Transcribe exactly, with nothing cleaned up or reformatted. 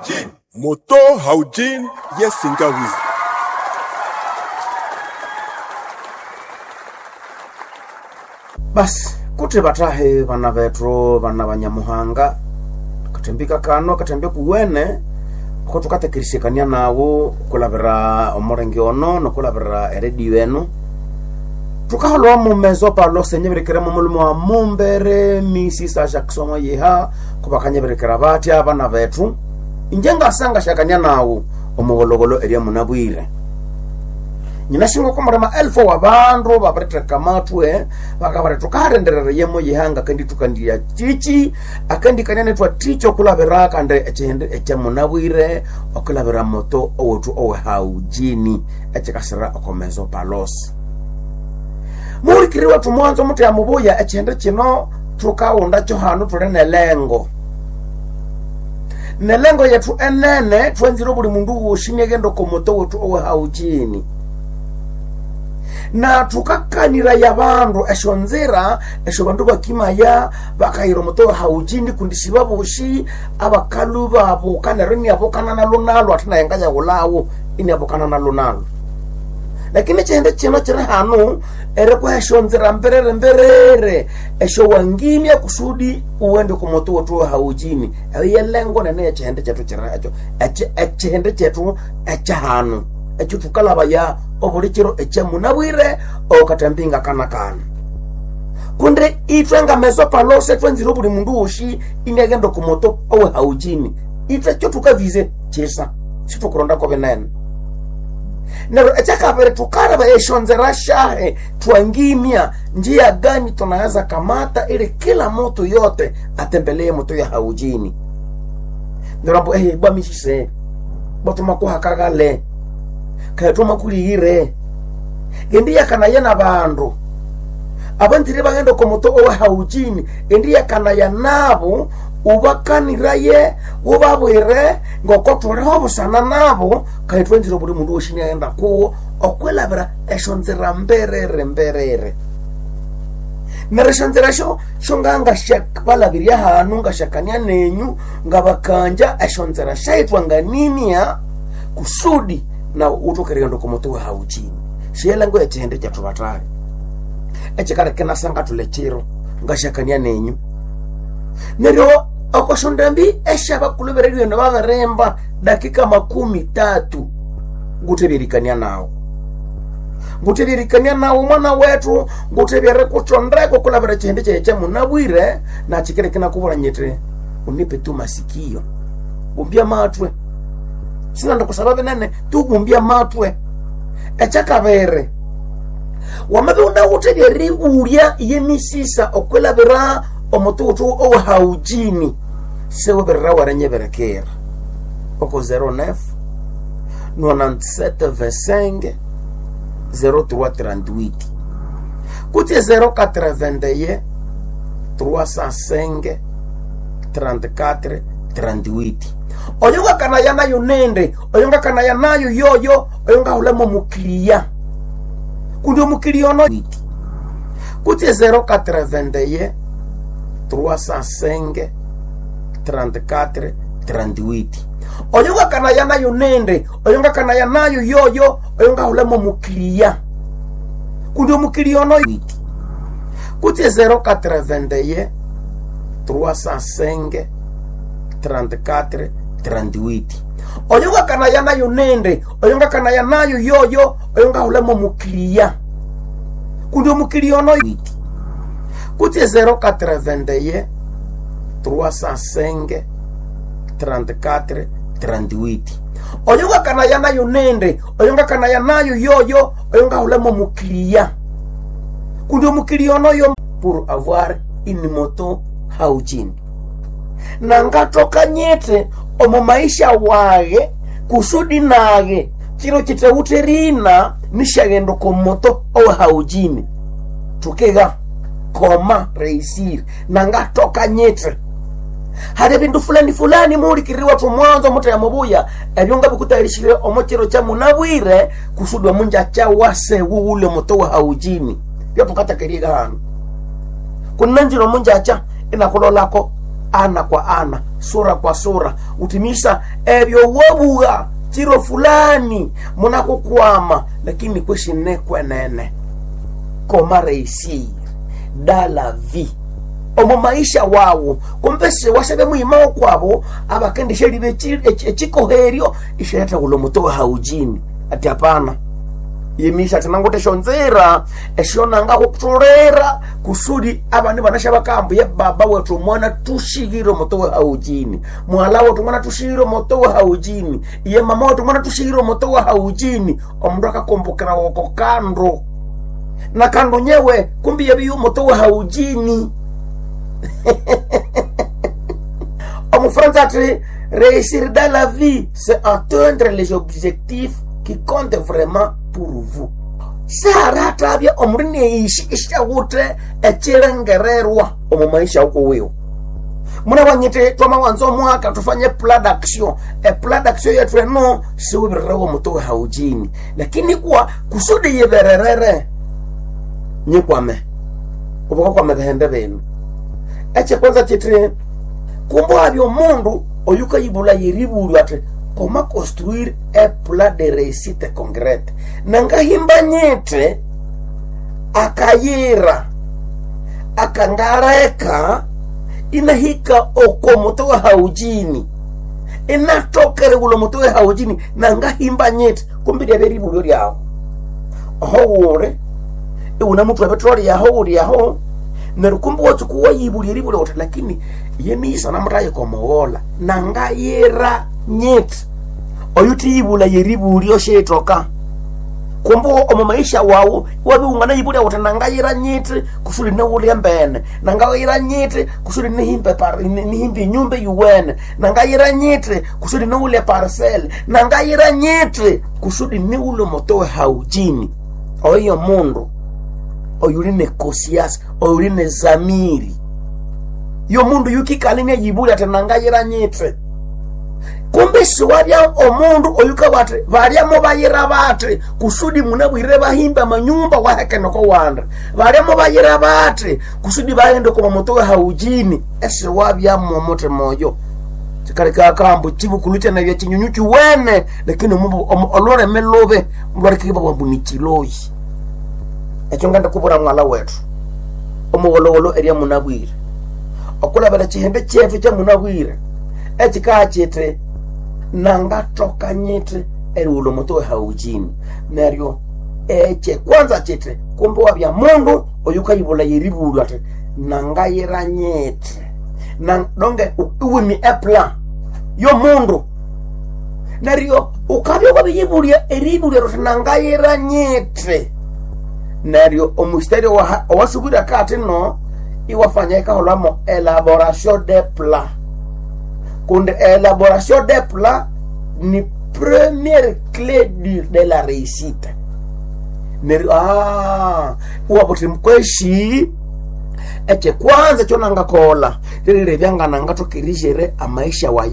Moto Haujin Yesingawi. Basi kuti batahe bana bethu bana banyamuhanga katembika kano katembe kuwene ko tukatekerisekania nawo kulabira omurenge ono nokulabira eredio eno tukaholwa mumezo palo senyeberekera mumulumo wa mumbere misisa Jackson yeha kubakanyeberekera batya abana bethu inje ngasanga shakania nawo omugologolo eria munabwire nyinashinga komurema elfu wa bandu babiriteka matwe bakabari tukarenderera yemo yihanga kandi tukandiya chichi akandi kanyane twa ticho kulabira kandi echihende echamunabwire okulabira moto owetu owe haujini echikasira okomezo palos muhulikiri wetu mwanzo mutu ya mubuya echihende chino tukaunda cho hanu tuli nelengo nelengo yetu enene twenzire buli mundu woshi niaghenda okomoto wetu owe haujini na tukakanira ya bandu esyo nzira esyo bandu bakimaya bakayira omuto haujini kundi sibaboshi abakalu babuka neryo iniabukana nalo nalo ate naye ngayawulawo iniabukana nalo nalo lakini chihende chino chiri hanu erikuha esyo nzira mberere mberere esyo wangimya kusudi uwende kumutu wetu haujini eyo yelengo nene yechihende chetu chiri ekyo echihende chetu ekyahanu ekyo tukalabaya obuli kiro ekyamunabwire okatambinga kana kana kundi ithwe ngameso palose twenzire obuli mundu woshi iniaghenda okumoto owe haujini ithwe kyo tukavize chisa situkurondako binene neryo ekyakabiri tukaraba esyonzera shahe twangimya njia gani tunaweza kamata ili kila mutu yote atembelee moto ya haujini neryo ambu ehe bwamisise bwatumakuhakagale kayatuma kuliyire endi yakanaya na bandu abanzire baghenda okomoto owe haujini endi yakanaya nabo ubakaniraye ubabwire ngoko thuliho busana nabo kayithwenzire buli mundu woshi niaghenda kuwo okwilabira esyo nzira mberere mberere neryo esyo nzira syo syonganga balabirya hanu ngashakania nenyu ngabakanja esyo nzira syayithwanganimya kusudi na utokerera komoto wa haujini shiyelengo echihende kyathu batali echikaleka nasanga thule chiro ngashakania nenyu neryo okoshondambi eshabakulubireryo eno babirimba dakika makumi tatu ngutebyerikania nawo ngutebyerikania nawo mwana wethu ngutebyere kuchondeko kulabira chihende kyaye kyamunabwire nachikireke nakubura nyiti unipe tu masikio bumbya matwe sinanda kusaba binene tubumbya matwe ekyakabere wamabe unawuthe lyeribulya yemisisa okwilabira omututu owahaujini sewebirira warenyeberekera oko zero nine nonante-sept vingt-cinq zéro trois trente-huit kutse zéro quatre-vingt-un trois cent cinq trente-quatre trente-huit oyo ngakanaya nayo nende oyo ngakanaya nayo yoyo oyo ngahulamo mukiliya kundi omukiliya ono kutse zéro quatre-vingt-un trois cent cinq trente-quatre trente-huit oyo ngakanaya nayo nende oyo ngakanaya nayo yoyo oyo ngahulamo mukiliya kundi omukiliya ono kutse zéro quatre-vingt-un trois cent cinq trente-quatre trente-huit oyo ngakanaya nayo nende oyo ngakanaya nayo yoyo oyo ngahulamo mukiliya kundi omukiliya ono kutse zéro quatre-vingt-un trois cent cinq trente-quatre trente-huit oyo ngakanaya nayo nende oyo ngakanaya nayo yoyo oyo ngahulamo mukiliya kundi omukiliya onoyo pour avoir une moto haujini nangatoka nyete omu maisha wage kusudi nage chiro chitawute rina nishaghenda komoto owe haujini tukiga koma reisiri nangatoka nyete hari bindu fulani fulani muhulikiririwa tumwanzo mutu ya mubuya ebyo nga bikutayirishire omo chiro cha munabwire kusudi omunja cha wase wuwule moto wa haujini byotukatakeriga hanu kunanjira omunja acha inakulolako ana kwa ana sura kwa sura. Utimisa ebyo wabugha chiro fulani munakukwama, lakini kweshine kwenene koma réussir dans la vie omu maisha wawu kumbe siwashabe muyimawo kwabo abakendisha libe echikoheryo ishaletha muto wa haujini ati hapana yimisha tinangote shonzera eshonanga kutulera kusudi abandi banasha bakambu ye baba wetu mwana tushigire moto wa haujini mwala wetu mwana tushigire moto wa haujini ye mama wetu mwana tushigire moto wa haujini omundu akakumbukira woko kando na kando nyewe kumbi yebiyo moto wa haujini omufransa ati réussir dans la vie c'est atteindre les objectifs qui comptent vraiment pour vous saratabya omundu neishi ishawuthe echilengererwa omu maisha uko wiwo munabanyite twamawanza omwaka tufanye plan d'action e plan d'action yetu eno siwibirerewo muto we haujini lakini kuwa kusudi yibererere nyikwame ubukakwame bihende binu ekye kwanza chiti kumbe abya omundu oyukayibula yeribulwa ati comment construire un plan de réussite concrète nangahimba nyite akayira akangareka inahika oko muto wa haujini inatokere ulo muto wa haujini nangahimba nyite kumbe lyabya eribulyo lyawo oho wule iwuna muthu wa petroli yaho uli yaho neryo kumbe watsuku wayibulya eribulya uthi lakini yemiyisa namutayikomowola nangayira nyiti oyu tiyibula yeribulyo shitoka kumbe omu maisha wawu wabiungana yibulya uthi nangayira nyiti kusudi niwulye mbene nangayira nyiti kusudi nihimbe par- nihimbe inyumba yuwene nangayira nyiti kusudi niwulye parcel nangayira nyiti kusudi niwule moto haujini oyo mundu oyuli ne kosiasa oyuli ne zamiri yo mundu yukikala inayibulya ati nangayira nyiti kumbe siwabya omundu oyuka ati balyamo bayira bati kusudi munabwire bahimba amanyumba wahekeneko wanda balyamo bayira bati kusudi baghende kuma muto we haujini esiwabyamo omutima oyo kikaleka akambu chibukulu kyanabya chinyunyu chiwene lakini omu- omu- olulimi lubi lwalikibwa bwambu ni chiloyi ekyo ngenda kubura mwala wetu omuwolowolo erya munabwire okulabira chihembe chetu kya munabwire ekikaa kiti nangathoka nyiti eriwulha omuti we haujini neryo ekye kwanza kiti kumbe wabya mundu oyukayibulha yeribulwa ati nangayira nyiti Na- donge iwimi eplan yomundu neryo ukabya wabiyibulya eribulya ruthi nangayira nyiti neryo omustari owasubira kati no iwafanya ikaholwamo elaboration de plan kundi elaboration de plan ni première clé du, de la réussite neryo ah, iwabuthi mkweshi ekye kwanza kyonangakola lililebya nganangathokerijere amaisha waye.